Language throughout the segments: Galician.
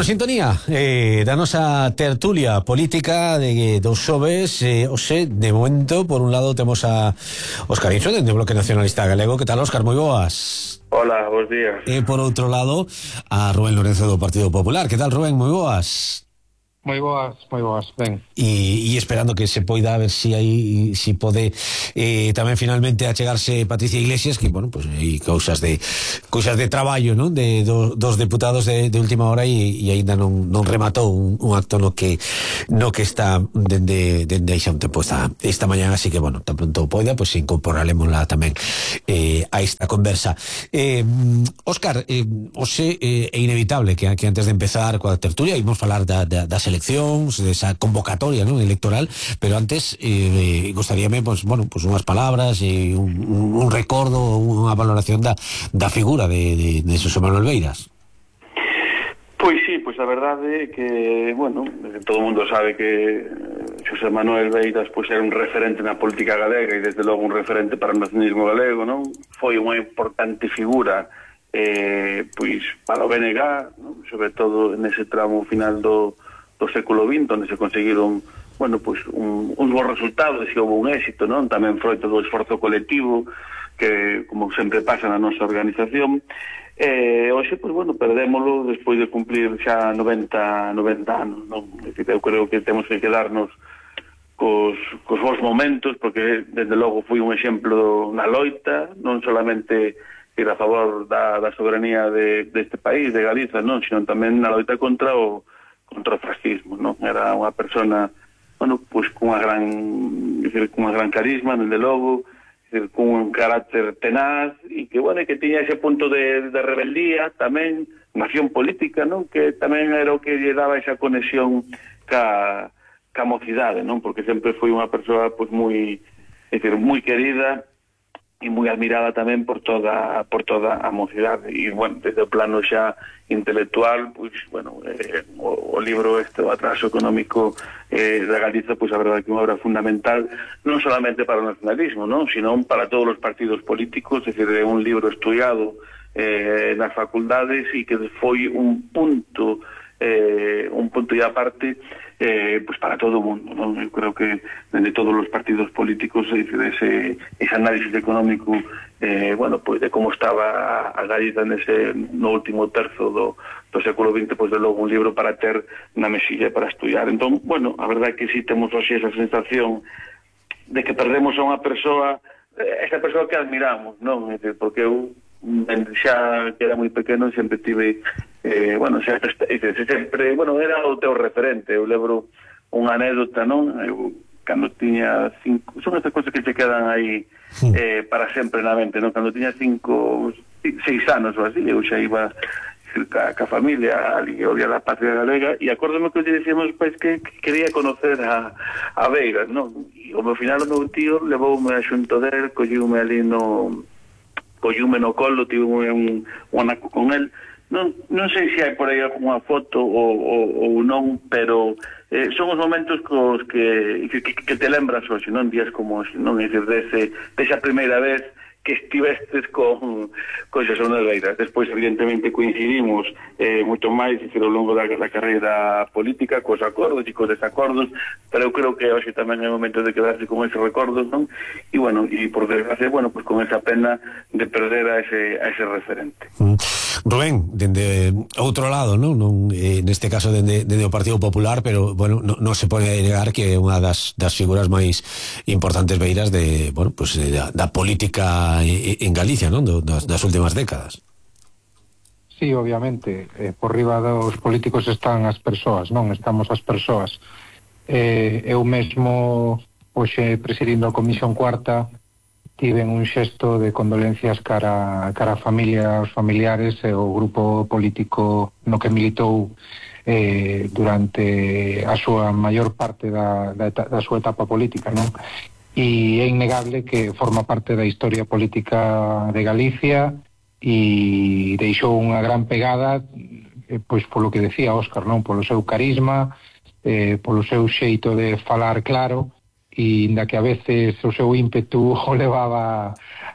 Bueno, sintonía da nosa tertulia política de dos xoves. Oxe, de momento, por un lado temos a Óscar Inso, dende o Bloque Nacionalista Galego. Que tal, Óscar? Moi boas. Hola, bons días. E por outro lado, a Rubén Lorenzo do Partido Popular. Que tal, Rubén? Moi boas. Moi boas, ben. E esperando que se poida, a ver si aí si pode tamén finalmente achegarse Patricia Iglesias, que, bueno, pues hai cousas de traballo, non? Dos deputados de última hora e aínda non rematou un acto no que está dende aí xa un tempo esta mañá, así que, bueno, tan pronto poida, pues incorporarémosla tamén a esta conversa. Óscar, hoxe é inevitable que antes de empezar coa tertulia ímos falar das eleccións, desa convocatoria, ¿no?, electoral, pero antes gostaríame, pues, bueno, pues unhas palabras e un recordo, unha valoración da figura de Xosé Manuel Beiras. Pois sí, pois a verdade é que, bueno, todo o mundo sabe que Xosé Manuel Beiras pois era un referente na política galega e desde logo un referente para o nacionalismo galego, non? Foi unha importante figura pois para o BNG, non? Sobre todo nese tramo final do século XX, onde se conseguiron, bueno, pues uns bons resultados e houve un éxito, non? Tamén froito do esforzo colectivo que, como sempre pasa na nosa organización. Hoxe, pues bueno, perdémolo despois de cumplir xa 90 anos, non? Eu creo que temos que quedarnos cos bons momentos, porque desde logo foi un exemplo na loita, non solamente ir a favor da soberanía deste país, de Galiza, non, sino tamén na loita contra o fascismo, non? Era unha persona, bueno, pois cunha gran carisma, desde logo, cun un carácter tenaz e que, bueno, que tiña ese punto de rebeldía tamén, unha acción política, non? Que tamén era o que lle daba esa conexión ca mocidade, non? Porque sempre foi unha persoa pois moi querida e moi admirada tamén por toda a mocidade. E, bueno, desde o plano xa intelectual, pois, bueno, o libro o Atraso Económico da Galiza, pois a verdade que é unha obra fundamental non solamente para o nacionalismo, non, sino para todos os partidos políticos. É dicir, é un libro estudiado nas facultades e que foi un punto e aparte pues para todo o mundo, non? Eu creo que dende todos os partidos políticos ese análisis económico bueno, pues de como estaba a Galiza no último terzo do século XX, pues de logo un libro para ter na mesilla para estudiar. Entón, bueno, a verdade é que si temos hoxe esa sensación de que perdemos a unha persoa, esa persoa que admiramos, non? Porque eu xa que era moi pequeno sempre tive bueno, sempre, bueno, era o teu referente. Eu lembro unha anécdota, non? Eu, cando tiña 5, son estas cosas que se quedan aí para sempre na mente, non? Cando tiña 6 anos ou así, eu xa iba ca familia ali, olía da patria galega, e acórdome que lle dicíamos pois que quería conocer a Beiras, non? E ao final o meu tío levoume a xunto del, colliume ali no colo, tive un anaco con el. Non sei se hai por aí alguna foto ou non, pero son os momentos cos que te lembras hoxe, non? Días como hoxe, non? É dicir, desa primeira vez que estivestes con Xosé Manuel Beiras. Despois, evidentemente, coincidimos moito máis ao longo da carreira política, cos acordos e cos desacordos, pero eu creo que hoxe tamén é o momento de quedarse con eses recordos, non? E, bueno, e por desgracia, bueno, pues con esa pena de perder a ese referente. Rubén, dende outro lado, non neste caso dende o Partido Popular, pero, bueno, non se pode negar que é unha das figuras máis importantes Beiras bueno, pues da política en Galicia, non? Das últimas décadas. Sí, obviamente, por riba dos políticos están as persoas, non? Estamos as persoas. Eu mesmo, hoxe, presidindo a Comisión Cuarta, tiven un xesto de condolencias cara a familia, os familiares e o grupo político no que militou durante a súa maior parte da súa etapa política, non? E é innegable que forma parte da historia política de Galicia e deixou unha gran pegada, pois polo que decía Óscar, non? Polo seu carisma, polo seu xeito de falar claro e inda que a veces o seu ímpetu o levaba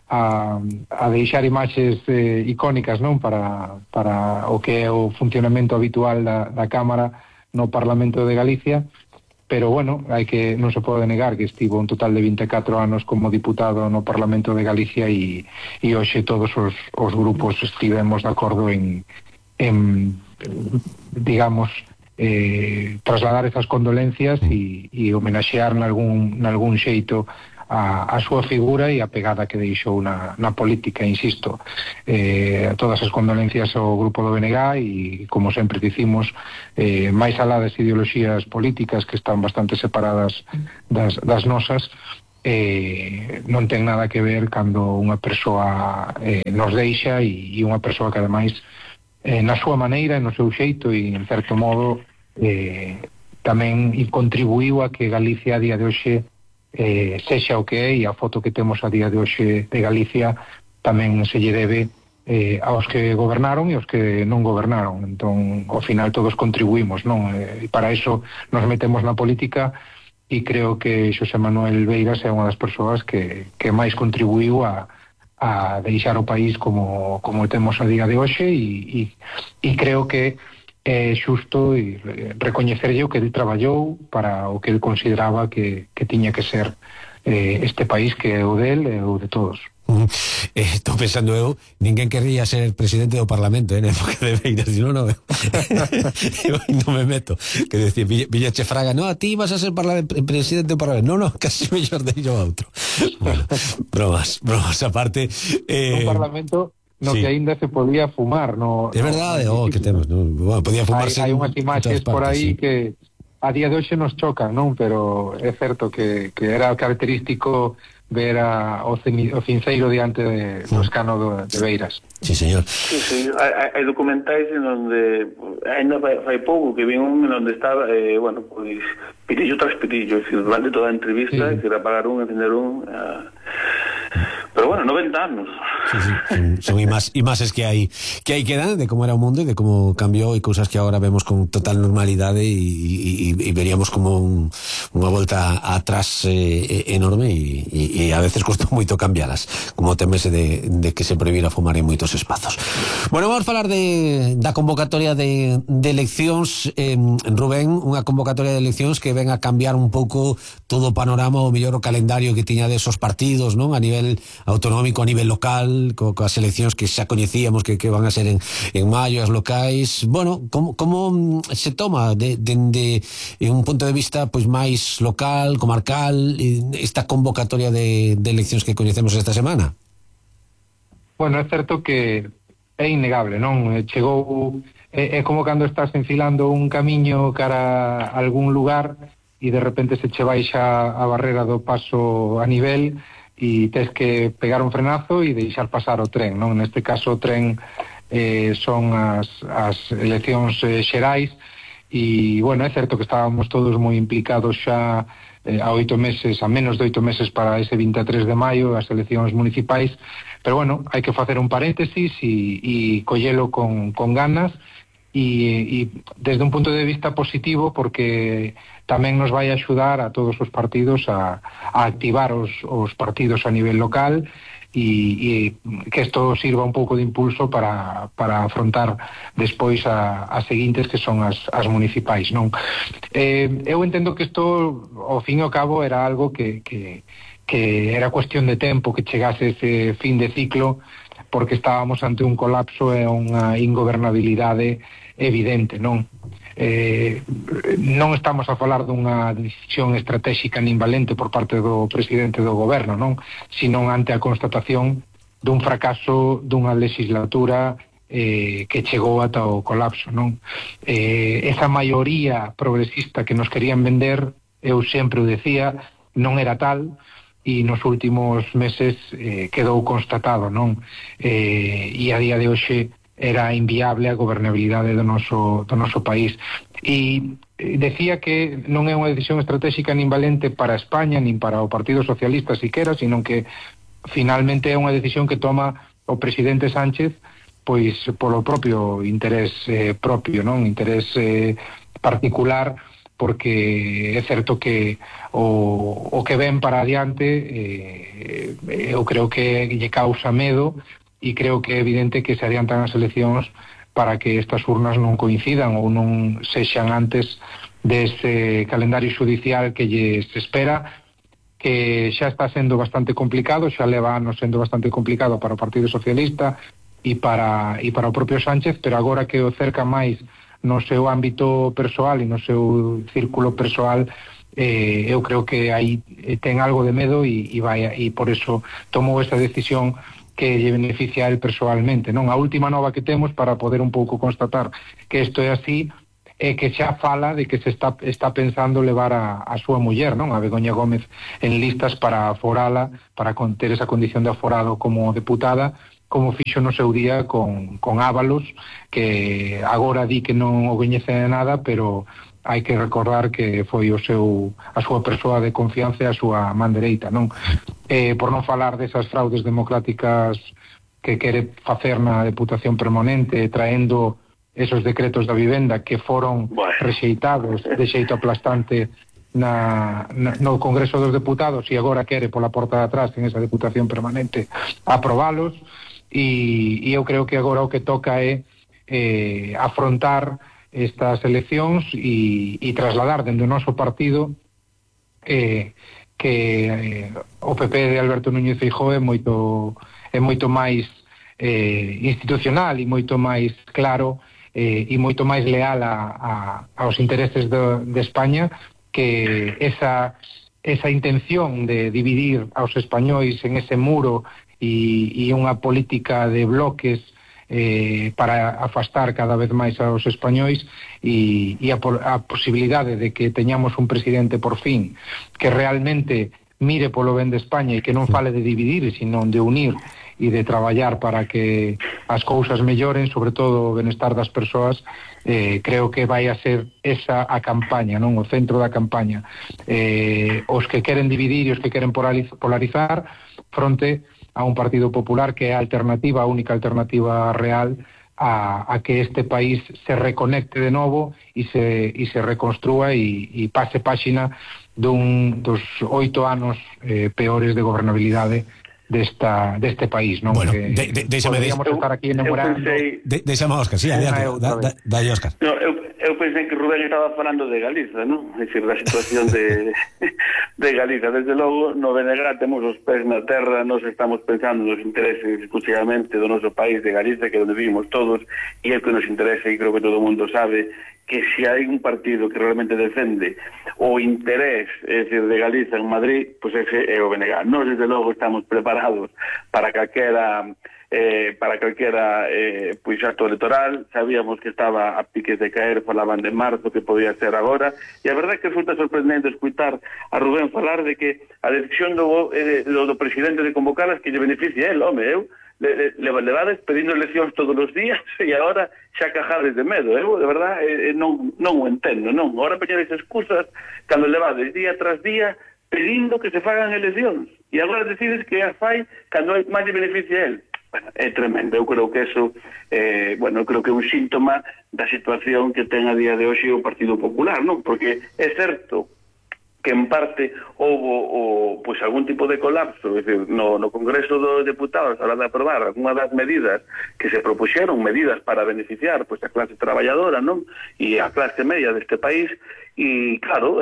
a deixar imaxes icónicas, non, para o que é o funcionamento habitual da Cámara no Parlamento de Galicia, pero bueno, non se pode negar que estivo un total de 24 anos como diputado no Parlamento de Galicia e hoxe todos os grupos estivemos de acordo en digamos, trasladar esas condolencias e homenaxear nalgún xeito a súa figura e a pegada que deixou na política, insisto. Todas as condolencias ao grupo do BNG e, como sempre dicimos, máis alá das ideoloxías políticas que están bastante separadas das nosas, non ten nada que ver cando unha persoa nos deixa e unha persoa que ademais na súa maneira, no seu xeito e en certo modo tamén contribuiu a que Galicia a día de hoxe sexa o que é, e a foto que temos a día de hoxe de Galicia tamén se lle debe aos que gobernaron e aos que non gobernaron. Entón, ao final todos contribuímos, non? E para iso nos metemos na política e creo que Xosé Manuel Beiras é unha das persoas que máis contribuíu a deixar o país como temos a día de hoxe e creo que é xusto recoñecerlle o que ele traballou para o que ele consideraba que tiña que ser este país que é o del e o de todos. Estou pensando eu, ninguén querría ser presidente do Parlamento en época de Beiras, non me meto, que decía Villache Fraga, no, a ti vas a ser presidente do Parlamento, no, casi mellor de yo a outro. Bueno, bromas aparte, un Parlamento no sí, que aínda se podía fumar, no. É verdade, que temos, no? Bueno, podía fumarse. Hai unhas imaxes por aí sí, que a día de hoxe nos chocan, non? Pero é certo que era característico ver o cinceiro diante do escano de Beiras. Sí, señor. Sí, hai documentais en onde ainda fai pouco que vi un en onde estaba, bueno, pois pitillo tras pitillo, durante toda a entrevista, sí, que era apagar un, encender un, pero bueno, 90 anos. Sí, son imaxes que hai quedan de como era o mundo e de como cambiou e cousas que agora vemos con total normalidade e veríamos como unha volta atrás enorme e a veces costou moito cambialas, como o temese de que se prohibira fumar en moitos espazos. Bueno, vamos falar da convocatoria de eleccións, Rubén, unha convocatoria de eleccións que ven a cambiar un pouco todo o panorama, o mellor o calendario que tiña desos partidos, non? A nivel autonómico, a nivel local, coas eleccións que xa coñecíamos que van a ser en maio, as locais. Bueno, como se toma dende un punto de vista pois máis local, comarcal, esta convocatoria de eleccións que coñecemos esta semana? Bueno, é certo que é innegable, non? Chegou, é como cando estás enfilando un camiño cara a algún lugar e de repente se che baixa a barrera do paso a nivel e tes que pegar un frenazo e deixar pasar o tren, non? Neste caso o tren son as eleccións xerais e, bueno, é certo que estábamos todos moi implicados xa a menos de 8 meses para ese 23 de maio, as eleccións municipais, pero, bueno, hai que facer un paréntesis e collelo con ganas e desde un punto de vista positivo, porque tamén nos vai axudar a todos os partidos a activar os partidos a nivel local e que isto sirva un pouco de impulso para afrontar despois as seguintes, que son as municipais, non? Eu entendo que isto, ao fin e ao cabo, era algo que era cuestión de tempo que chegase ese fin de ciclo, porque estábamos ante un colapso e unha ingobernabilidade evidente, non? Non estamos a falar dunha decisión estratégica nin valente por parte do presidente do goberno, non? Sino ante a constatación dun fracaso dunha legislatura que chegou ata o colapso, non? Esa maioría progresista que nos querían vender, eu sempre o decía, non era tal, e nos últimos meses quedou constatado, non? E a día de hoxe era inviable a gobernabilidade do noso país. E decía que non é unha decisión estratégica nin valente para España, nin para o Partido Socialista siquera, sino que finalmente é unha decisión que toma o presidente Sánchez pois polo propio interés propio, non? Interés particular porque é certo que o que ven para adiante eu creo que lle causa medo, e creo que é evidente que se adiantan as eleccións para que estas urnas non coincidan ou non sexan antes dese calendario judicial que lles espera, que xa está sendo bastante complicado, xa leva anos sendo bastante complicado para o Partido Socialista e para o propio Sánchez, pero agora que o cerca máis no seu ámbito persoal e no seu círculo persoal, eu creo que aí ten algo de medo e por eso tomou esta decisión que lle beneficia a él persoalmente, non? A última nova que temos para poder un pouco constatar que isto é así é que xa fala de que se está pensando levar a súa muller, non? A Begoña Gómez, en listas para aforala, para ter esa condición de aforado como deputada, como fixo no seu día con Ábalos, que agora di que non o coñece de nada, pero hai que recordar que foi a súa persoa de confianza e a súa man dereita, non? Por non falar desas fraudes democráticas que quere facer na Deputación Permanente, traendo esos decretos da vivenda que foron rexeitados de xeito aplastante no Congreso dos Deputados, e agora quere pola porta de atrás en esa Deputación Permanente aprobalos. E eu creo que agora o que toca é afrontar estas eleccións e trasladar dentro do noso partido que o PP de Alberto Núñez Feijóo é moito máis institucional e moito máis claro e moito máis leal aos intereses de España, que esa intención de dividir aos españois en ese muro e unha política de bloques para afastar cada vez máis aos españois e a posibilidade de que teñamos un presidente por fin que realmente mire polo ben de España e que non fale de dividir, sino de unir e de traballar para que as cousas melloren, sobre todo o benestar das persoas. Creo que vai a ser esa a campaña, non? O centro da campaña. Os que queren dividir e os que queren polarizar fronte a un Partido Popular que é a alternativa, a única alternativa real a que este país se reconecte de novo e se reconstrúa e pase páxina dos 8 anos peores de gobernabilidade deste país, non? Bueno, podríamos estar aquí enamorando. Deixame a Óscar, sí, dalle Óscar. No, eu pensei que Rubén estaba falando de Galiza, non? É dicir, da situación de Galiza. Desde logo, no BNG temos os pés na terra, nos estamos pensando nos intereses exclusivamente do noso país de Galiza, que é onde vivimos todos, e é o que nos interesa, e creo que todo o mundo sabe que se hai un partido que realmente defende o interés, é dicir, de Galiza en Madrid, pois ese é o BNG. Nós, desde logo, estamos preparados para calquera pois acto electoral. Sabíamos que estaba a piques de caer, falaban de marzo, que podía ser agora, e a verdade é que resulta sorprendente escutar a Rubén falar de que a decisión do presidente de convocalas que lle beneficia el, home, eu levades pedindo eleccións todos os días e agora xa cajades de medo, de verdad non o entendo, non? Agora peñades excusas cando levades día tras día pedindo que se fagan eleccións e agora decides que as fai cando máis lle beneficia a él. Bueno, é tremendo. Eu creo que eso creo que é un síntoma da situación que ten a día de hoxe o Partido Popular, non? Porque é certo que en parte houve pois algún tipo de colapso, é dicir, no Congreso dos Deputados a hora de aprobar algunha das medidas que se propuxeron, medidas para beneficiar pois a clase traballadora, non? E a clase media deste país, e claro,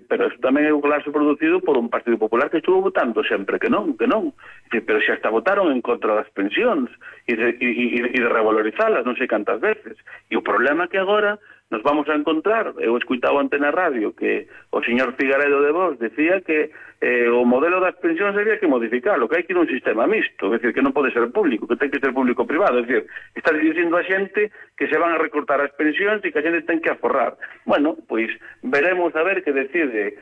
pero eso tamén é un colapso producido por un Partido Popular que estuvo votando sempre que non, pero xa hasta votaron en contra das pensións e de revalorizalas non sei cantas veces, e o problema que agora nos vamos a encontrar, eu escuitaba ante na radio que o señor Figaredo de Voz decía que o modelo das pensións había que modificarlo, que hai que ir un sistema mixto, é dicir, que non pode ser público, que ten que ser público-privado, é dicir, está dicindo a xente que se van a recortar as pensións e que a xente ten que aforrar. Bueno, pois veremos a ver que decide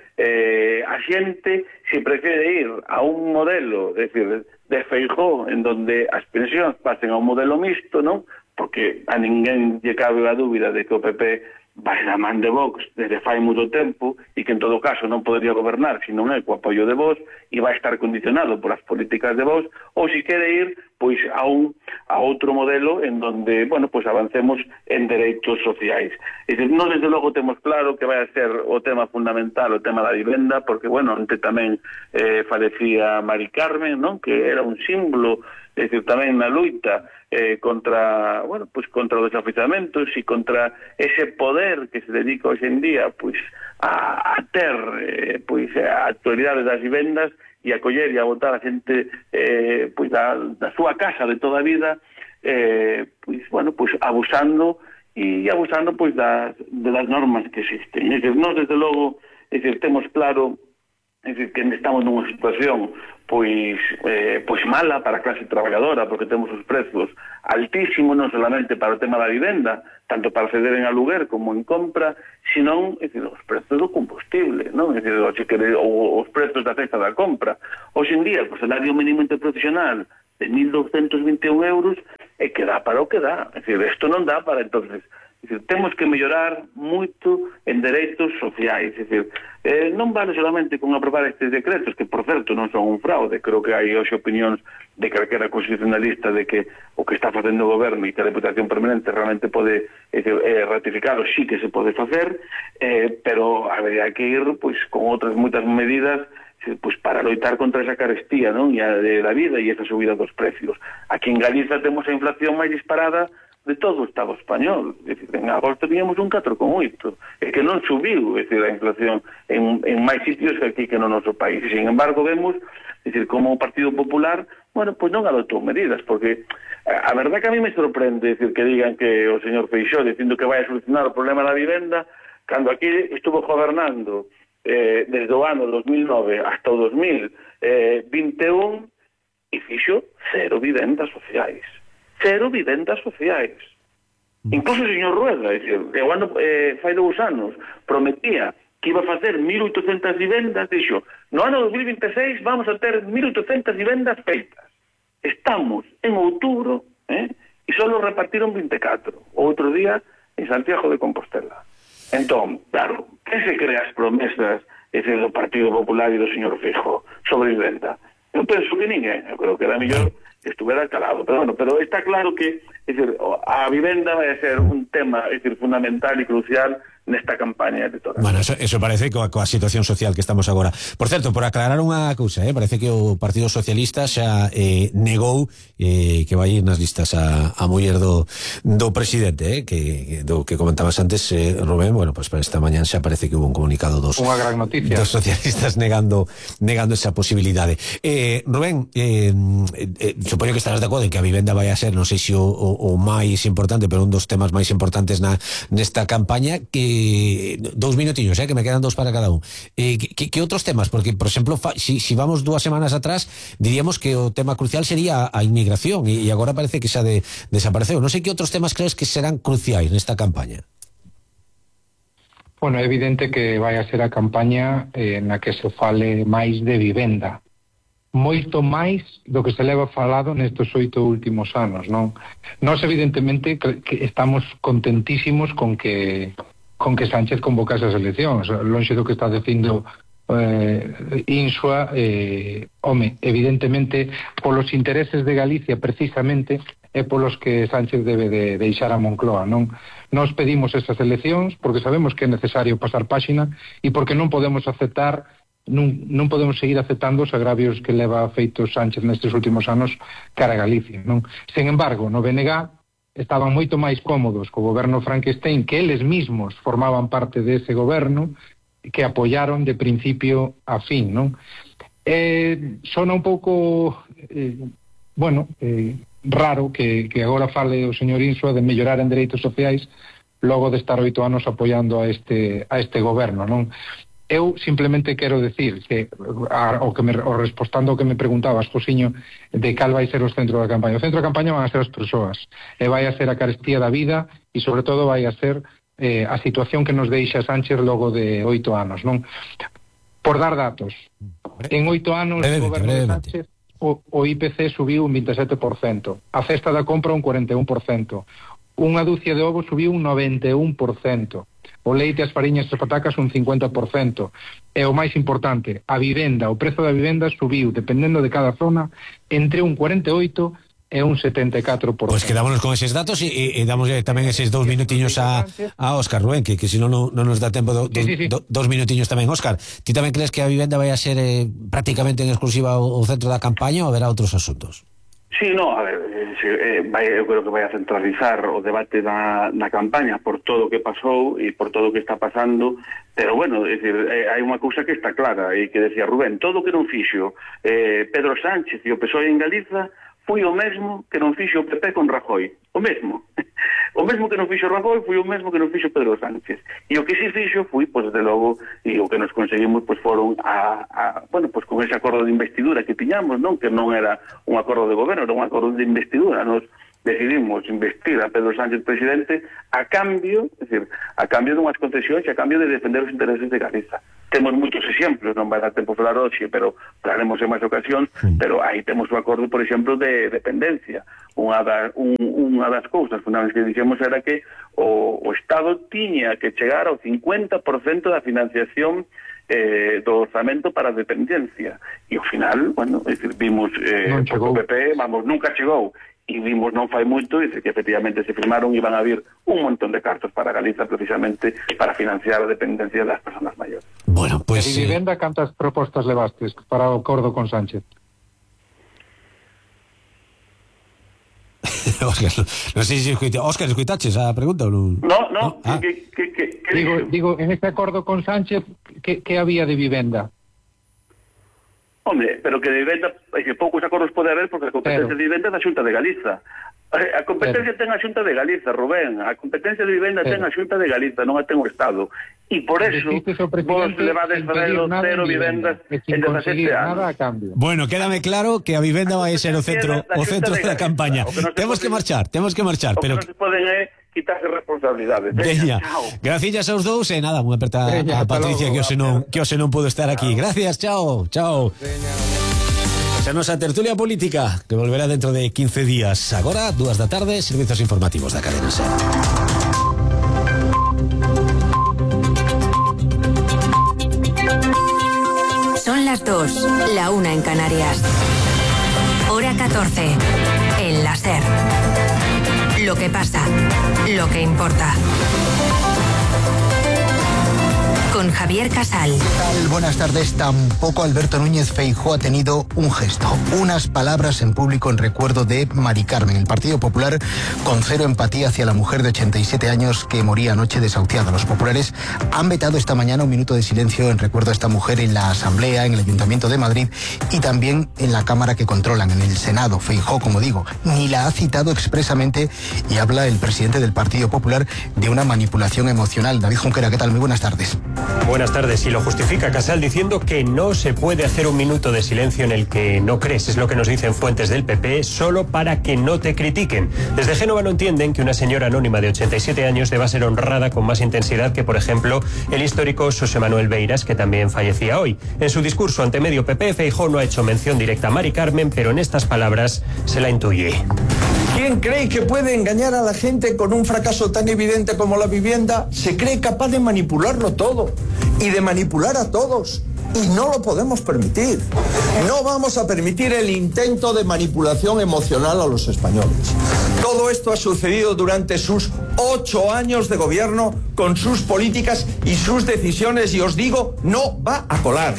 a xente se prefiere ir a un modelo, é dicir, de Feijóo, en donde as pensións pasen a un modelo mixto, non? Porque a ninguén lle cabe a dúbida de que o PP vai da man de Vox desde fai moito tempo e que en todo caso non podería gobernar se non é co apoio de Vox e vai estar condicionado por as políticas de Vox, ou se quere ir pois a outro modelo en donde, bueno, pois avancemos en dereitos sociais. É dicir, non desde logo temos claro que vai a ser o tema fundamental, o tema da vivenda, porque, bueno, onte tamén falecía Mari Carmen, non? Que era un símbolo, é dicir, tamén na loita contra, bueno, pues contra os desafiuzamentos e contra ese poder que se dedica hoxe en día pois a ter pois a actualidade das vivendas e a coller e a botar a xente pois da súa casa de toda a vida pois, bueno, pois abusando pois das normas que existen. É dicir, nós desde logo, é dicir, temos claro, é dicir, que estamos nunha situación pois mala para a clase traballadora, porque temos os prezos altísimos, non solamente para o tema da vivenda, tanto para ceder en aluguer como en compra, senón, é dicir, os prezos do combustible, non? É dicir, os prezos da cesta da compra. Hoxe en día, o salario mínimo interprofesional de 1.221 euros é que dá para o que dá. É dicir, isto non dá para, entonces, é dicir, temos que mellorar moito en dereitos sociais. É dicir, non vale solamente con aprobar estes decretos, que, por certo, non son un fraude. Creo que hai hoxe opinións de calquera constitucionalista de que o que está facendo o goberno e que a Deputación Permanente realmente pode ratificarlo, sí que se pode facer, pero habería que ir pois con outras moitas medidas pois para loitar contra esa carestía, non? E a da vida e esa subida dos precios. Aquí en Galiza temos a inflación máis disparada de todo o Estado español. É dicir, en agosto teníamos un 4,8, é que non subiu, é dicir, a inflación en máis sitios que aquí que no noso país. E, sin embargo, vemos, é dicir, como o Partido Popular, bueno, pois non adoptou medidas, porque a verdad que a mí me sorprende, é dicir, que digan que o señor Feixóo dicindo que vai a solucionar o problema da vivenda, cando aquí estuvo gobernando desde o ano 2009 hasta o 2021 e fixo cero vivendas sociais. Cero vivendas sociais. Incluso o señor Rueda, é dicir, fai 2 anos, prometía que iba a facer 1.800 vivendas, dixo, no ano 2026 vamos a ter 1.800 vivendas feitas. Estamos en outubro, e só repartiron 24. Outro día en Santiago de Compostela. Entón, claro, que se crea as promesas do Partido Popular e do señor Feijóo sobre vivenda? Eu penso que ninguén, eu creo que era mellor que estuvera calado, pero bueno, pero está claro que, é dicir, a vivenda vai a ser un tema, é dicir, fundamental e crucial nesta campaña electoral. Bueno, eso parece coa situación social que estamos agora. Por certo, por aclarar unha cousa, parece que o Partido Socialista xa negou que vai ir nas listas a muller do presidente, que comentabas antes, Rubén. Bueno, pues para esta mañá xa parece que hubo un comunicado dos socialistas negando esa posibilidade. Rubén, supoño que estarás de acordo en que a vivenda vai a ser, non sei se o máis importante, pero un dos temas máis importantes nesta campaña. Que 2 minutillos, que me quedan 2 para cada un. ¿Qué otros temas? Porque, por exemplo, si vamos 2 semanas atrás, diríamos que o tema crucial sería a inmigración e agora parece que xa desapareceu. Non sei que outros temas crees que serán cruciais nesta campaña. Bueno, é evidente que vai a ser a campaña na que se fale máis de vivenda. Moito máis do que se leva falado nestes 8 últimos anos, non? Nós, evidentemente, que estamos contentísimos con que Sánchez convocase as eleccións, lonxe do que está dicindo Insua, evidentemente, polos intereses de Galicia, precisamente, é polos que Sánchez debe de deixar a Moncloa, non? Nós pedimos esas eleccións porque sabemos que é necesario pasar páxina e porque non podemos aceptar non podemos seguir aceptando os agravios que leva feito Sánchez nestes últimos anos cara a Galicia, non? Sen embargo, no BNG estaban moito máis cómodos co goberno Frankenstein, que eles mismos formaban parte dese goberno, que apoyaron de principio a fin, non? Sona un pouco raro que agora fale o señor Insua de mellorar en dereitos sociais logo de estar 8 anos apoiando a este goberno, non? Eu simplemente quero decir que respostando ao que me preguntabas, Josiño, de cal vai ser o centro da campaña. O centro da campaña van a ser as persoas, e vai a ser a carestía da vida e sobre todo vai a ser a situación que nos deixa Sánchez logo de 8 anos, non? Por dar datos, en 8 anos o goberno de Sánchez o IPC subiu un 27%, a cesta da compra un 41%, unha dúcia de ovos subiu un 91%, o leite, as fariñas e as patacas un 50%. E o máis importante, a vivenda, o prezo da vivenda subiu, dependendo de cada zona, entre un 48% e un 74%. Pues quedámonos con eses datos e damos tamén eses 2 minutiños a Óscar, Rubén, que senón non nos dá tempo sí. 2 minutiños tamén. Óscar, ti tamén crees que a vivenda vai a ser prácticamente en exclusiva o centro da campaña ou haberá outros asuntos? Sí, no, a ver, eu creo que vai a centralizar o debate na campaña por todo o que pasou e por todo o que está pasando, pero bueno, é dicir, hai unha cousa que está clara e que decía Rubén, todo o que non fixo Pedro Sánchez e o PSOE en Galiza foi o mesmo que non fixo o PP con Rajoy, o mesmo que non fixo Rajoy foi o mesmo que non fixo Pedro Sánchez, e o que si fixo foi, pois, desde logo, e o que nos conseguimos pois foron bueno, pois con ese acordo de investidura que tiñamos, non, que non era un acordo de goberno, era un acordo de investidura. Nos decidimos investir a Pedro Sánchez presidente a cambio, é dicir, a cambio dunhas concesións e a cambio de defender os intereses de Galiza. Temos moitos exemplos, non vai dar tempo falar hoxe, pero falaremos en máis ocasións, pero aí temos o acordo, por exemplo, de dependencia. Unha das cousas fundamentales que dixemos era que o Estado tiña que chegar ao 50% da financiación do orzamento para a dependencia. E ao final, bueno, é dicir, vimos o PP, nunca chegou. E vimos non fai moito, dice que efectivamente se firmaron e van a vir un montón de cartos para Galiza precisamente para financiar a dependencia das persoas maiores. Bueno, pues... E vivenda, cantas propostas levastes para o acordo con Sánchez? Óscar, non sei se Óscar, escoitaches a pregunta ou non? No. Digo, en este acordo con Sánchez, que había de vivenda? Hombre, pero que de vivenda, que poucos acordos pode haber porque a competencia de vivenda é da Xunta de Galiza. A competencia ten a Xunta de Galiza, Rubén. A competencia de vivenda ten a Xunta de Galiza, non a ten o Estado. E por eso vos levades farelo cero vivendas en 17 anos. Bueno, quédame claro que a vivenda vai ser o centro da campaña. Temos que marchar, pero non se poden quitarse responsabilidades. Veña, gracias aos dous e nada, unha aperta a Patricia que hoxe non pudo estar aquí. Gracias, chao. Esa nosa tertulia política que volverá dentro de 15 días. Agora, 2 da tarde, servizos informativos da cadena SER. Son las 2, la 1 en Canarias. Hora 14, en la SER. Lo que pasa, lo que importa. Con Javier Casal. ¿Qué tal? Buenas tardes. Tampoco Alberto Núñez Feijóo ha tenido un gesto, unas palabras en público en recuerdo de Mari Carmen. El Partido Popular con cero empatía hacia la mujer de 87 años que moría anoche desahuciada. Los populares han vetado esta mañana un minuto de silencio en recuerdo a esta mujer en la Asamblea, en el Ayuntamiento de Madrid y también en la Cámara que controlan, en el Senado. Feijóo, como digo, ni la ha citado expresamente y habla el presidente del Partido Popular de una manipulación emocional. David Junquera, ¿qué tal? Muy buenas tardes. Buenas tardes. Y lo justifica Casal diciendo que no se puede hacer un minuto de silencio en el que no crees. Es lo que nos dicen fuentes del PP, solo para que no te critiquen. Desde Génova no entienden que una señora anónima de 87 años deba ser honrada con más intensidad que, por ejemplo, el histórico Xosé Manuel Beiras, que también fallecía hoy. En su discurso ante medio PP, Feijóo no ha hecho mención directa a Mari Carmen, pero en estas palabras se la intuye. ¿Quién cree que puede engañar a la gente con un fracaso tan evidente como la vivienda? Se cree capaz de manipularlo todo y de manipular a todos. Y no lo podemos permitir. No vamos a permitir el intento de manipulación emocional a los españoles. Todo esto ha sucedido durante sus 8 años de gobierno con sus políticas y sus decisiones y os digo, no va a colar.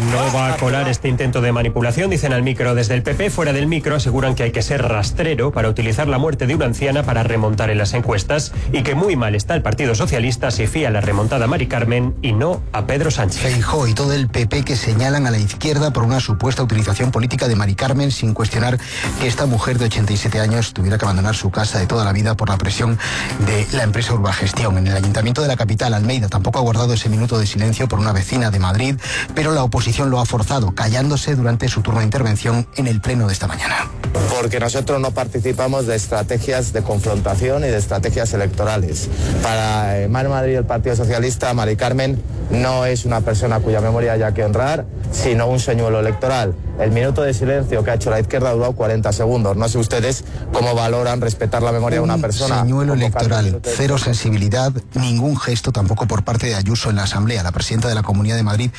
No va a colar este intento de manipulación, dicen al micro desde el PP. Fuera del micro aseguran que hay que ser rastrero para utilizar la muerte de una anciana para remontar en las encuestas y que muy mal está el Partido Socialista si fía la remontada a Mari Carmen y no a Pedro Sánchez. Feijóo y todo el PP que señalan a la izquierda por una supuesta utilización política de Mari Carmen sin cuestionar que esta mujer de 87 años tuviera que abandonar su casa de toda la vida por la presión de la empresa Urbagestión. En el Ayuntamiento de la capital, Almeida, tampoco ha guardado ese minuto de silencio por una vecina de Madrid, pero la oposición lo ha forzado, callándose durante su turno de intervención en el pleno de esta mañana. Porque nosotros no participamos de estrategias de confrontación y de estrategias electorales. Para Mar Madrid y el Partido Socialista, Mari Carmen no es una persona cuya memoria haya que honrar, sino un señuelo electoral. el minuto de silencio que ha hecho la izquierda ha durado 40 segundos. No sé ustedes cómo valoran respetar la memoria de una persona. Señuelo electoral, cero sensibilidad, ningún gesto tampoco por parte de Ayuso en la Asamblea. La presidenta de la Comunidad de Madrid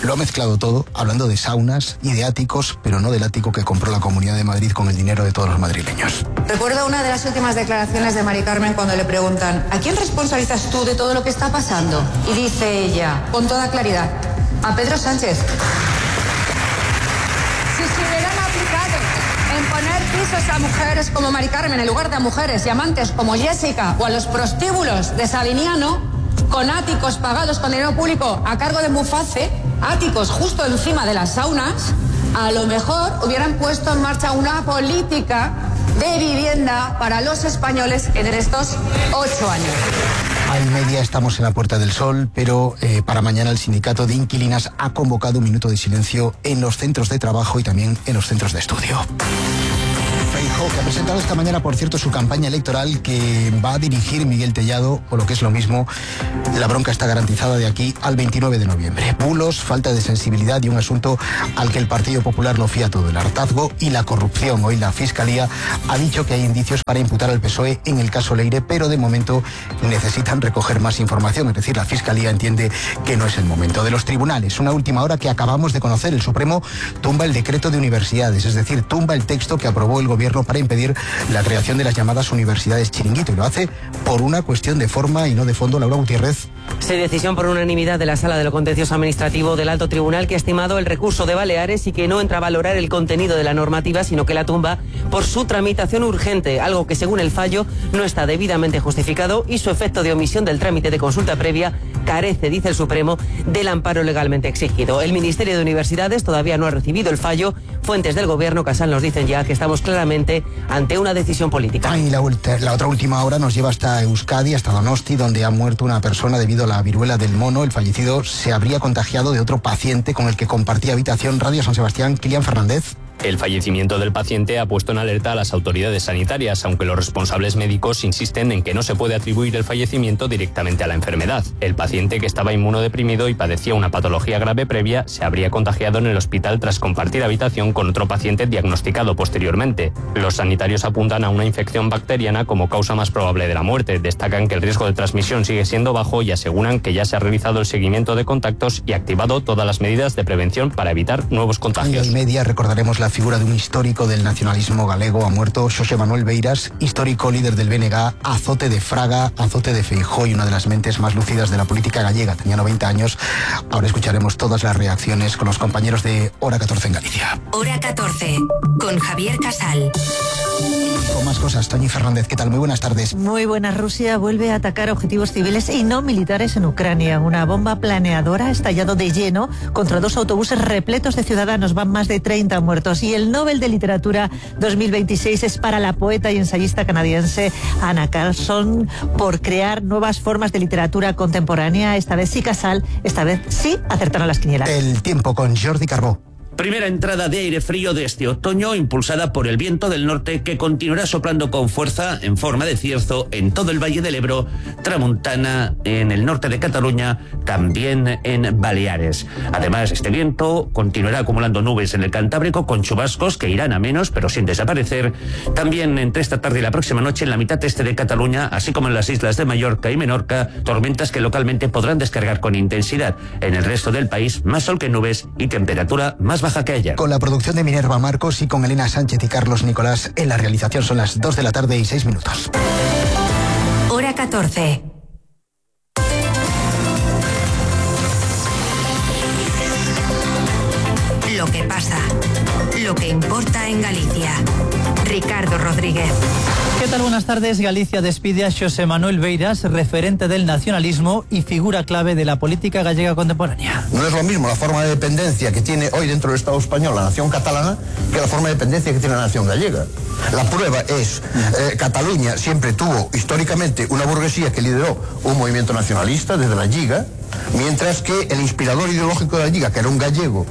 lo ha mezclado todo, hablando de saunas y de áticos, pero no del ático que compró la Comunidad de Madrid con el dinero de todos los madrileños. Recuerdo una de las últimas declaraciones de Mari Carmen cuando le preguntan ¿a quién responsabilizas tú de todo lo que está pasando? Y dice ella, con toda claridad, a Pedro Sánchez. Si se hubieran aplicado en poner pisos a mujeres como Mari Carmen en lugar de a mujeres y amantes como Jessica o a los prostíbulos de Sabiniano, con áticos pagados con dinero público a cargo de Muface, áticos justo encima de las saunas, a lo mejor hubieran puesto en marcha una política de vivienda para los españoles en estos 8 años. Al media estamos en la Puerta del Sol, pero para mañana el sindicato de inquilinas ha convocado un minuto de silencio en los centros de trabajo y también en los centros de estudio. Feijóo, que ha presentado esta mañana, por cierto, su campaña electoral que va a dirigir Miguel Tellado, o lo que es lo mismo, la bronca está garantizada de aquí al 29 de noviembre. Bulos, falta de sensibilidad y un asunto al que el Partido Popular lo fía todo, el hartazgo y la corrupción. Hoy la Fiscalía ha dicho que hay indicios para imputar al PSOE en el caso Leire, pero de momento necesitan recoger más información, es decir, la Fiscalía entiende que no es el momento. De los tribunales, una última hora que acabamos de conocer, el Supremo tumba el decreto de universidades, es decir, tumba el texto que aprobó el gobierno para impedir la creación de las llamadas universidades chiringuito, y lo hace por una cuestión de forma y no de fondo. Laura Gutiérrez. Se decisión por unanimidad de la Sala de lo Contencioso Administrativo del Alto Tribunal, que ha estimado el recurso de Baleares y que no entra a valorar el contenido de la normativa, sino que la tumba por su tramitación urgente, algo que según el fallo no está debidamente justificado y su efecto de omisión del trámite de consulta previa carece, dice el Supremo, del amparo legalmente exigido. El Ministerio de Universidades todavía no ha recibido el fallo. Fuentes del Gobierno, Casal, nos dicen ya que estamos claramente ante una decisión política. Y la otra última hora nos lleva hasta Euskadi, hasta Donosti, donde ha muerto una persona debido a la viruela del mono. El fallecido se habría contagiado de otro paciente con el que compartía habitación. Radio San Sebastián, Kilian Fernández. El fallecimiento del paciente ha puesto en alerta a las autoridades sanitarias, aunque los responsables médicos insisten en que no se puede atribuir el fallecimiento directamente a la enfermedad. El paciente, que estaba inmunodeprimido y padecía una patología grave previa, se habría contagiado en el hospital tras compartir habitación con otro paciente diagnosticado posteriormente. Los sanitarios apuntan a una infección bacteriana como causa más probable de la muerte. Destacan que el riesgo de transmisión sigue siendo bajo y aseguran que ya se ha realizado el seguimiento de contactos y activado todas las medidas de prevención para evitar nuevos contagios. Y media recordaremos la figura de un histórico del nacionalismo galego. Ha muerto Xosé Manuel Beiras, histórico líder del BNG, azote de Fraga, azote de Feijóo y una de las mentes más lúcidas de la política gallega. Tenía 90 años. Ahora escucharemos todas las reacciones con los compañeros de Hora 14 en Galicia. Hora 14, con Javier Casal. Con más cosas, Toñi Fernández, ¿qué tal? Muy buenas tardes. Muy buenas. Rusia vuelve a atacar objetivos civiles y no militares en Ucrania. Una bomba planeadora ha estallado de lleno contra 2 autobuses repletos de ciudadanos. Van más de 30 muertos. Y el Nobel de Literatura 2026 es para la poeta y ensayista canadiense Anna Carlson por crear nuevas formas de literatura contemporánea. Esta vez sí, Casal, esta vez sí acertaron las quinielas. El tiempo con Jordi Carbó. Primera entrada de aire frío de este otoño, impulsada por el viento del norte, que continuará soplando con fuerza en forma de cierzo en todo el Valle del Ebro, tramontana en el norte de Cataluña, también en Baleares. Además, este viento continuará acumulando nubes en el Cantábrico con chubascos que irán a menos, pero sin desaparecer. También entre esta tarde y la próxima noche en la mitad este de Cataluña, así como en las islas de Mallorca y Menorca, tormentas que localmente podrán descargar con intensidad. En el resto del país, más sol que nubes y temperatura más baja que ayer. Con la producción de Minerva Marcos y con Elena Sánchez y Carlos Nicolás en la realización. Son las 2 de la tarde y 6 minutos. Hora 14. Lo que pasa, lo que importa en Galicia. Ricardo Rodríguez. ¿Qué tal? Buenas tardes. Galicia despide a Xosé Manuel Beiras, referente del nacionalismo y figura clave de la política gallega contemporánea. No es lo mismo la forma de dependencia que tiene hoy dentro del Estado español la nación catalana que la forma de dependencia que tiene la nación gallega. La prueba es, Cataluña siempre tuvo históricamente una burguesía que lideró un movimiento nacionalista desde la Lliga, mientras que el inspirador ideológico de la Lliga, que era un gallego,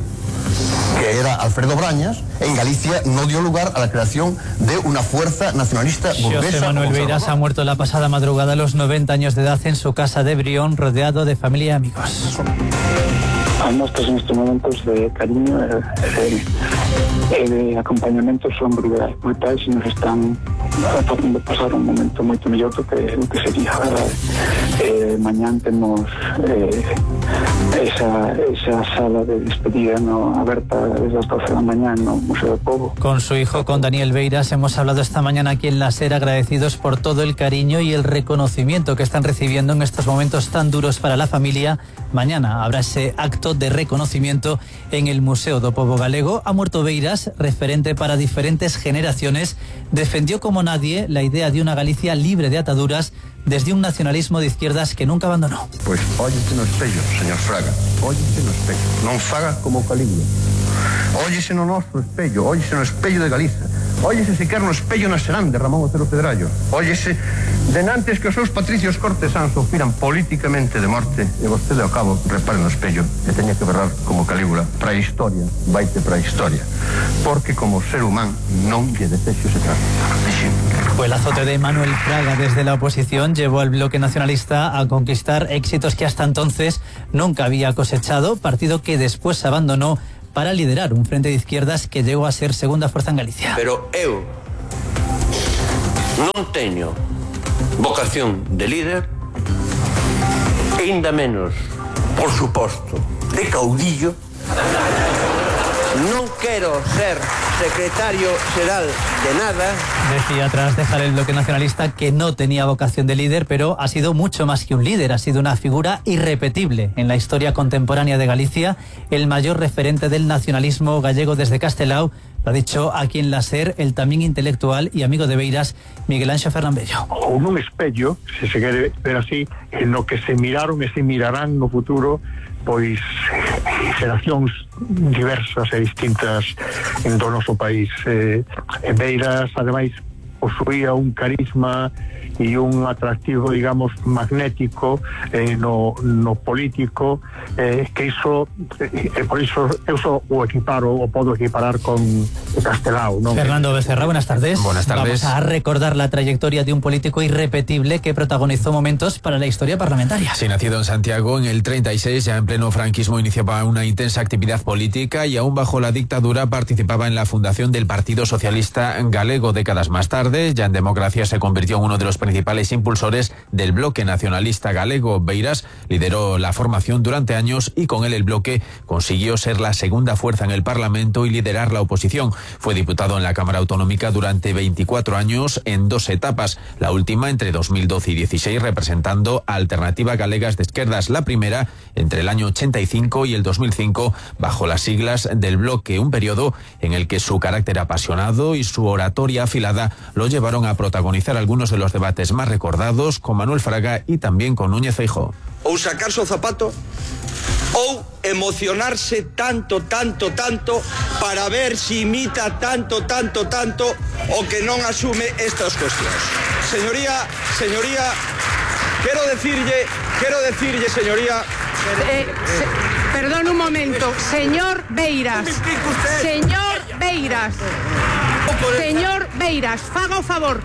que era Alfredo Brañas, en Galicia no dio lugar a la creación de una fuerza nacionalista burguesa. Xosé Manuel Beiras ha muerto la pasada madrugada a los 90 años de edad en su casa de Brión, rodeado de familia y amigos. As mostras nestes momentos de cariño e de acompañamento son brutais e nos están facendo pasar un momento moito mellor do que sería. Mañán temos esa sala de despedida aberta desde las 12 de la mañana no Museo do Pobo. Con su hijo, con Daniel Beiras, hemos hablado esta mañana aquí en La SER, agradecidos por todo el cariño y el reconocimiento que están recibiendo en estos momentos tan duros para la familia. Mañana habrá ese acto de reconocimiento en el Museo do Pobo Galego. Ha muerto Beiras, referente para diferentes generaciones. Defendió como nadie la idea de una Galicia libre de ataduras desde un nacionalismo de izquierdas que nunca abandonó. Pois óllese no espello, señor Fraga, óllese no espello, non faga como Calígula. Óllese no noso espello, óllese no espello de Galiza, óllese sequer no espello nacional de Ramón Otero Pedrallo, óllese denantes que os seus patricios cortesáns sufriran políticamente de morte e vostede ao cabo repare no espello e teña que berrar como Calígula, para a historia, vaite para a historia, porque como ser humano non lle desexo se trata. Pues el azote de Manuel Fraga desde la oposición llevó al bloque nacionalista a conquistar éxitos que hasta entonces nunca había cosechado, partido que después abandonó para liderar un frente de izquierdas que llegó a ser segunda fuerza en Galicia. Pero eu non teño vocación de líder, e ainda menos, por suposto, de caudillo. Non quero ser secretario xeral de nada. Decía tras dejar el bloque nacionalista que no tenía vocación de líder, pero ha sido mucho más que un líder, ha sido una figura irrepetible en la historia contemporánea de Galicia, el mayor referente del nacionalismo gallego desde Castelao. Lo ha dicho aquí en La SER el también intelectual y amigo de Beiras, Miguel Anxo Fernambello. O un espello, se quere ver así, en lo que se miraron e se mirarán no futuro pois xeracións diversas e distintas do noso país. Beiras, ademais, posuía un carisma e un atractivo, digamos, magnético no político, que iso por iso eu só o equiparo, o podo equiparar con Castelao, ¿no? Fernando Becerra, buenas tardes. Buenas tardes. Vamos a recordar la trayectoria de un político irrepetible que protagonizó momentos para la historia parlamentaria. Sí, nacido en Santiago en el 36, ya en pleno franquismo iniciaba una intensa actividad política y aún bajo la dictadura participaba en la fundación del Partido Socialista Galego. Décadas más tarde, ya en democracia, se convirtió en uno de los principales impulsores del bloque nacionalista galego. Beiras lideró la formación durante años y con él el bloque consiguió ser la segunda fuerza en el Parlamento y liderar la oposición. Fue diputado en la Cámara Autonómica durante 24 años en dos etapas, la última entre 2012 y 16 representando a Alternativa Galegas de Izquierdas, la primera entre el año 85 y el 2005 bajo las siglas del bloque, un periodo en el que su carácter apasionado y su oratoria afilada lo llevaron a protagonizar algunos de los debates más recordados con Manuel Fraga y también con Núñez Feijóo. Ou sacarse o zapato ou emocionarse tanto para ver si imita tanto o que non asume estas cuestiones. Señoría, quiero decirle, señoría... Perdón un momento, señor Beiras, faga o favor.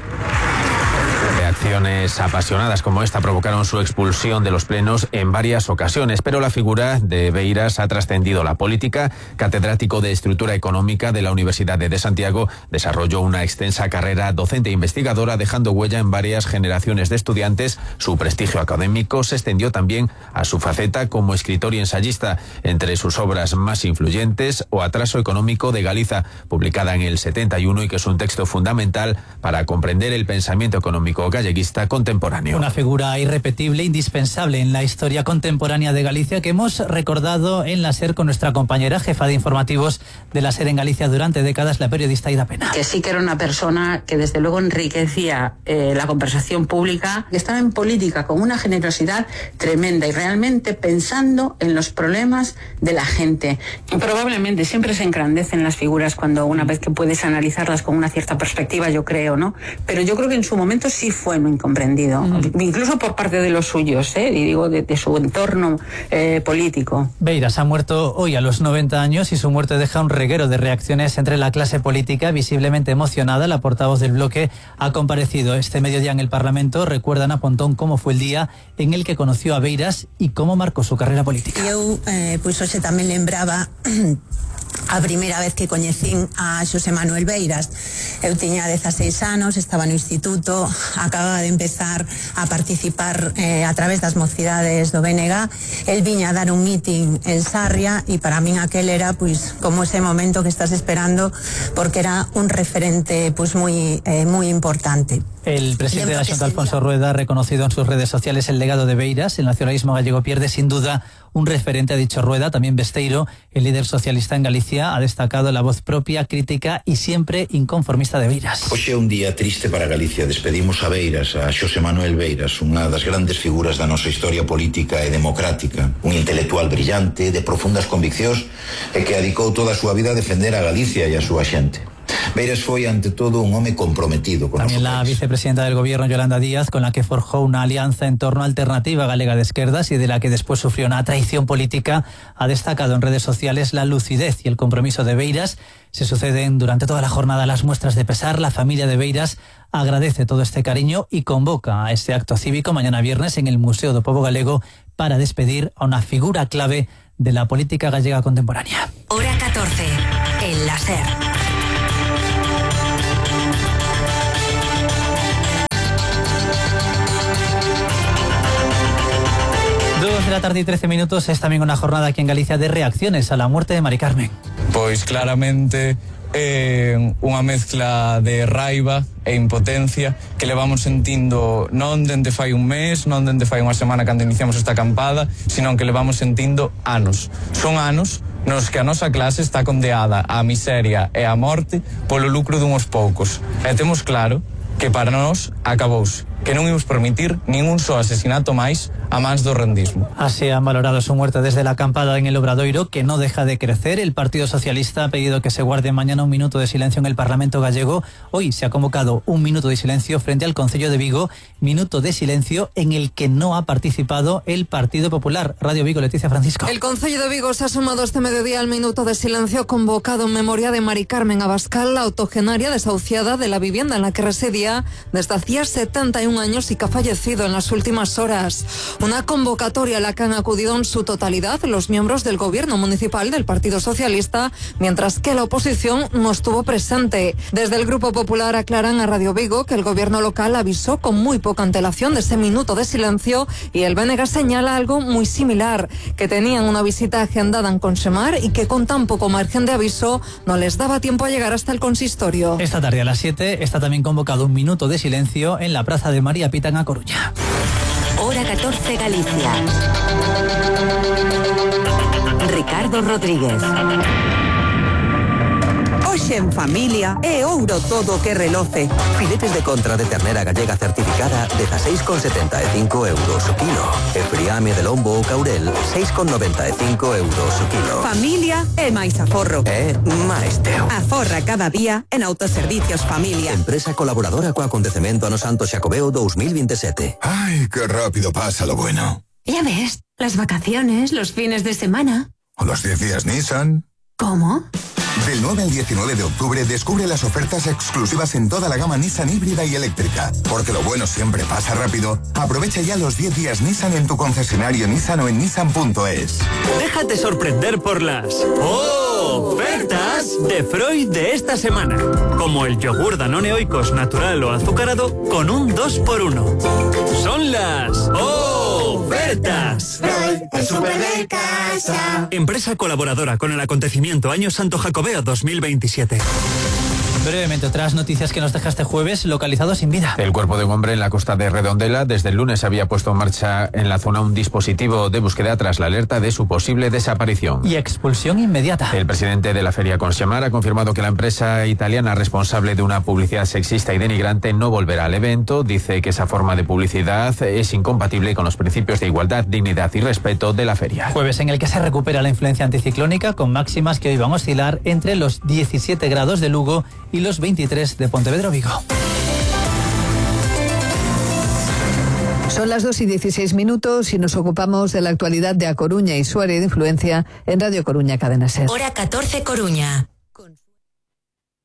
Reacciones apasionadas como esta provocaron su expulsión de los plenos en varias ocasiones, pero la figura de Beiras ha trascendido la política. Catedrático de Estructura Económica de la Universidad de Santiago, desarrolló una extensa carrera docente e investigadora, dejando huella en varias generaciones de estudiantes. Su prestigio académico se extendió también a su faceta como escritor y ensayista. Entre sus obras más influyentes, O atraso económico de Galiza, publicada en el 71 y que es un texto fundamental para comprender el pensamiento económico galleguista contemporáneo. Una figura irrepetible, indispensable en la historia contemporánea de Galicia, que hemos recordado en La SER con nuestra compañera jefa de informativos de La SER en Galicia durante décadas, la periodista Ida Pena. Que sí que era una persona que desde luego enriquecía la conversación pública, que estaba en política con una generosidad tremenda y realmente pensando en los problemas de la gente. Probablemente siempre se engrandecen las figuras cuando una vez que puedes analizarlas con una cierta perspectiva, yo creo, ¿no? Pero yo creo que en su momento sí fue fue muy incomprendido, incluso por parte de los suyos, y digo de su entorno político. Beiras ha muerto hoy a los 90 años y su muerte deja un reguero de reacciones entre la clase política, visiblemente emocionada. La portavoz del bloque ha comparecido este mediodía en el Parlamento. Recuerda Ana Pontón cómo fue el día en el que conoció a Beiras y cómo marcó su carrera política. Eu, pois hoxe tamén lembraba a primeira vez que coñecín a Xosé Manuel Beiras. Eu tiña 16 anos, estaba no instituto, acababa de empezar a participar a través das mocidades do BNG. El viña a dar un mitin en Sarria e para min aquel era pois como ese momento que estás esperando, porque era un referente pois moi importante. El presidente de la Xunta, Alfonso Rueda, ha reconocido en sus redes sociales el legado de Beiras. El nacionalismo gallego pierde sin duda un referente, ha dicho Rueda. También Besteiro, el líder socialista en Galicia, ha destacado la voz propia, crítica y siempre inconformista de Beiras. Hoxe é un día triste para Galicia. Despedimos a Beiras, a Xosé Manuel Beiras, unha das grandes figuras da nosa historia política e democrática. Un intelectual brillante, de profundas conviccións e que dedicou toda a súa vida a defender a Galicia e a súa xente. Beiras foi, ante todo, un home comprometido con También la vicepresidenta del gobierno, Yolanda Díaz, con la que forjó una alianza en torno a Alternativa Galega de Esquerdas y de la que después sufrió una traición política, ha destacado en redes sociales la lucidez y el compromiso de Beiras. Se suceden durante toda la jornada las muestras de pesar. La familia de Beiras agradece todo este cariño y convoca a este acto cívico mañana viernes en el Museo do Pobo Galego para despedir a una figura clave de la política gallega contemporánea. Hora 14, en la SER. 2 de la tarde y 13 minutos. Es también una jornada aquí en Galicia de reacciones a la muerte de Mari Carmen. Pois claramente unha mezcla de raiva e impotencia que levamos sentindo non dende fai un mes, non dende fai unha semana cando iniciamos esta acampada, sino que levamos sentindo anos. Son anos nos que a nosa clase está condeada á miseria e á morte polo lucro dunhos poucos. E temos claro que para nós acabouse, que non imos permitir ningún só asesinato máis a mans do rendismo. Así han valorado su muerte desde la acampada en el Obradoiro, que no deja de crecer. El Partido Socialista ha pedido que se guarde mañana un minuto de silencio en el Parlamento gallego. Hoy se ha convocado un minuto de silencio frente al Concello de Vigo, minuto de silencio en el que no ha participado el Partido Popular. Radio Vigo, Leticia Francisco. El Concello de Vigo se ha sumado este mediodía al minuto de silencio convocado en memoria de Mari Carmen Abascal, la octogenaria desahuciada de la vivienda en la que residía desde hacía 71 años y que ha fallecido en las últimas horas. Una convocatoria a la que han acudido en su totalidad los miembros del gobierno municipal del Partido Socialista, mientras que la oposición no estuvo presente. Desde el Grupo Popular aclaran a Radio Vigo que el gobierno local avisó con muy poca antelación de ese minuto de silencio y el BNG señala algo muy similar, que tenían una visita agendada en Consemar y que con tan poco margen de aviso no les daba tiempo a llegar hasta el consistorio. Esta tarde a las 7 está también convocado un minuto de silencio en la Plaza de María Pita en A Coruña. Hora 14 Galicia. Ricardo Rodríguez. Hoxe en familia é ouro todo que reloce. Filetes de contra de ternera gallega certificada 16,75 euros o kilo. E friame de lombo ou caurel 6,95 euros o kilo. Familia é máis aforro. É máis teu. Aforra cada día en Autoservicios Familia. Empresa colaboradora co acontecemento Ano Santo Xacobeo 2027. Ay, qué rápido pasa lo bueno. Ya ves, las vacaciones, los fines de semana. O los 10 días Nissan. ¿Cómo? Del 9 al 19 de octubre descubre las ofertas exclusivas en toda la gama Nissan híbrida y eléctrica. Porque lo bueno siempre pasa rápido. Aprovecha ya los 10 días Nissan en tu concesionario Nissan o en nissan.es. Déjate sorprender por las ofertas de Freud de esta semana. Como el yogur Danone Oikos natural o azucarado con un 2x1. Son las ofertas. Freud, el súper de casa. Empresa colaboradora con el acontecimiento Año Santo Jacobeo 2027. Brevemente, otras noticias que nos deja este jueves, localizado sin vida. El cuerpo de un hombre en la costa de Redondela desde el lunes había puesto en marcha en la zona un dispositivo de búsqueda tras la alerta de su posible desaparición. Y expulsión inmediata. El presidente de la feria Consemar ha confirmado que la empresa italiana responsable de una publicidad sexista y denigrante no volverá al evento. Dice que esa forma de publicidad es incompatible con los principios de igualdad, dignidad y respeto de la feria. Jueves en el que se recupera la influencia anticiclónica con máximas que hoy van a oscilar entre los 17 grados de Lugo y los 23 de Pontevedra Vigo. Son las 2:16 y nos ocupamos de la actualidad de A Coruña y su área de influencia en Radio Coruña Cadena SER. Hora 14 Coruña.